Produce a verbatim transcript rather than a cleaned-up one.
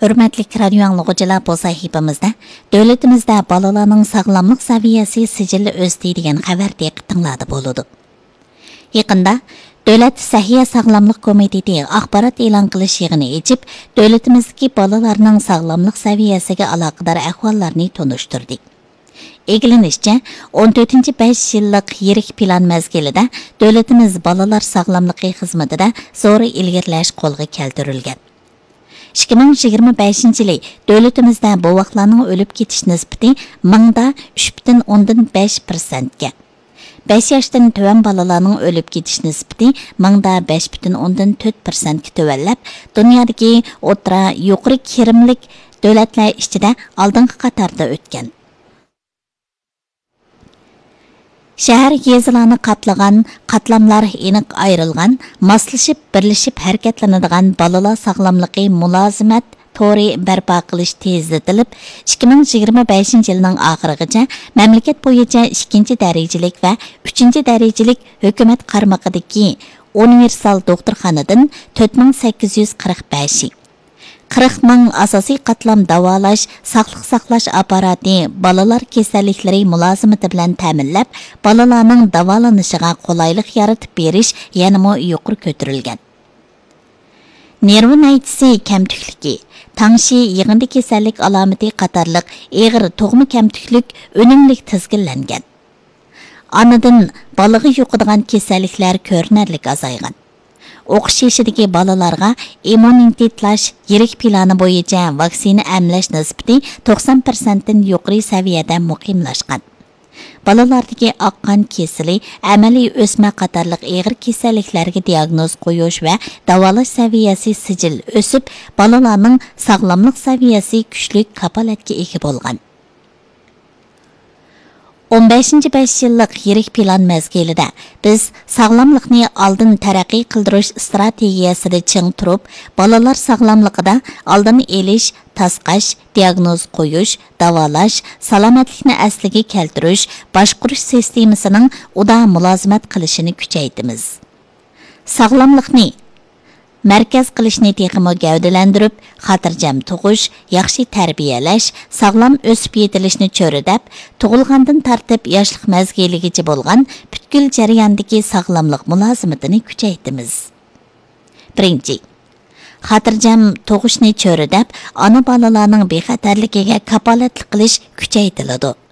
ھۆرمەتلىك رادىيو ئاڭلىغۇچىلار، بۇ سەھىپىمىزدە دۆلىتىمىزدە بالىلارنىڭ ساغلاملىق سەۋىيەسى سىجىللا ئۆستى دېگەن خەۋەر دىققىتىڭلاردا بولىدۇ. يېقىندا دۆلەت سەھىيە ساغلاملىق كومىتېتى ئاخبارات ئېلان قىلىش يىغىنى ئېچىپ، دۆلىتىمىزدىكى بالىلارنىڭ ساغلاملىق سەۋىيەسىگە ئالاقىدار ئەھۋاللارنى تونۇشتۇردى. ئىگىلىنىشىچە، ئون تۆتىنچى بەش يىللىق يىرىك پىلان مەزگىلىدە دۆلىتىمىز بالىلار ساغلاملىقى خىزمىتىدە زور ئىلگىرىلەش قولغا كەلتۈرۈلگەن. ئىككى مىڭ يىگىرمە بەشىنچى يىلى دۆلىتىمىزدە بوۋاقلارنىڭ ئۆلۈپ كېتىش نىسبىتى مىڭدا ئۈچ پۈتۈن ئوندىن بەش پىرسەنتكە، بەش ياشتىن تۆۋەن بالىلارنىڭ ئۆلۈپ كېتىش نىسبىتى مىڭدا بەش پۈتۈن ئوندىن تۆت پىرسەنتكە تۆۋەنلەپ، دۇنيادىكى ئوتتۇرا يۇقىرى كىرىملىك دۆلەتلەر ئىچىدە ئالدىنقى قاتاردا ئۆتكەن. شەھەر، يېزىلارنى قاپلىغان، قاتلاملار ئېنىق ئايرىلغان، ماسلىشىپ، بىرلىشىپ ھەرىكەتلىنىدىغان بالىلار ساغلاملىقى مۇلازىمەت تورى بەرپا قىلىش تېزلىتىلىپ، ئىككى مىڭ يىگىرمە بەشىنچى يىلنىڭ ئاخىرىغىچە مەملىكەت بويىچە ئىككىنچى دەرىجىلىك ۋە ئۈچىنچى دەرىجىلىك ھۆكۈمەت قارمىقىدىكى ئۇنىۋېرسال دوختۇرخانىدىن تۆت مىڭ سەككىز يۈز قىرىق بەشى، قىرىق مىڭ ئاساسىي قاتلام داۋالاش، ساقلىق ساقلاش ئاپپاراتى بالىلار كېسەللىكلىرى مۇلازىمىتى بىلەن تەمىنلەپ، بالىلارنىڭ داۋالىنىشىغا قولايلىق يارىتىپ بېرىش يەنىمۇ يۇقىرى كۆتۈرۈلگەن. نېرۋا نەيچىسى كەمتۈكلۈكى، تاڭشى، يىغىندى كېسەللىك ئالامىتى قاتارلىق ئېغىر تۇغما كەمتۈكلۈك ئۈنۈملۈك تىزگىنلەنگەن. ئانىدىن بالىغا يۇقىدىغان كېسەللىكلەر كۆرۈنەرلىك ئازايغان. ئوقۇش يېشىدىكى بالىلارغا ئىممۇنىتېتلاش يىرىك پىلانى بويىچە ۋاكسىنا ئەملەش نىسبىتى توقسان پىرسەنتتىن يۇقىرى سەۋىيەدە مۇقىملاشقان. بالىلاردىكى ئاق قان كېسىلى، ئەمەلىي ئۆسمە قاتارلىق ئېغىر كېسەللىكلەرگە دىياگنوز قويۇش ۋە داۋالاش سەۋىيەسى سىجىل ئۆسۈپ، بالىلارنىڭ ساغلاملىق سەۋىيەسى كۈچلۈك كاپالەتكە ئىگە بولغان. ئون بەشىنچى بەش يىللىق يىرىك پىلان مەزگىلىدە بىز ساغلاملىقنى ئالدىن تەرەققىي قىلدۇرۇش ئىستراتېگىيەسىدە چىڭ تۇرۇپ، بالىلار ساغلاملىقىدا ئالدىنى ئېلىش، تاسقاش، دىياگنوز قويۇش، داۋالاش، سالامەتلىكنى ئەسلىگە كەلتۈرۈش، باشقۇرۇش سىستېمىسىنىڭ ئۇدا مۇلازىمەت قىلىشىنى كۈچەيتىمىز. ساغلاملىقنى مەركەز قىلىشنى تېخىمۇ گەۋدىلەندۈرۈپ، خاتىرجەم تۇغۇش، ياخشى تەربىيەلەش، ساغلام ئۆسۈپ يېتىلىشنى چۆرىدەپ، تۇغۇلغاندىن تارتىپ ياشلىق مەزگىلىگىچە بولغان پۈتكۈل جەرياندىكى ساغلاملىق مۇلازىمىتىنى كۈچەيتىمىز. بىرىنچى، خاتىرجەم تۇغۇشنى چۆرىدەپ، ئانا بالىلارنىڭ بىخەتەرلىكىگە كاپالەتلىك قىلىش كۈچەيتىلىدۇ.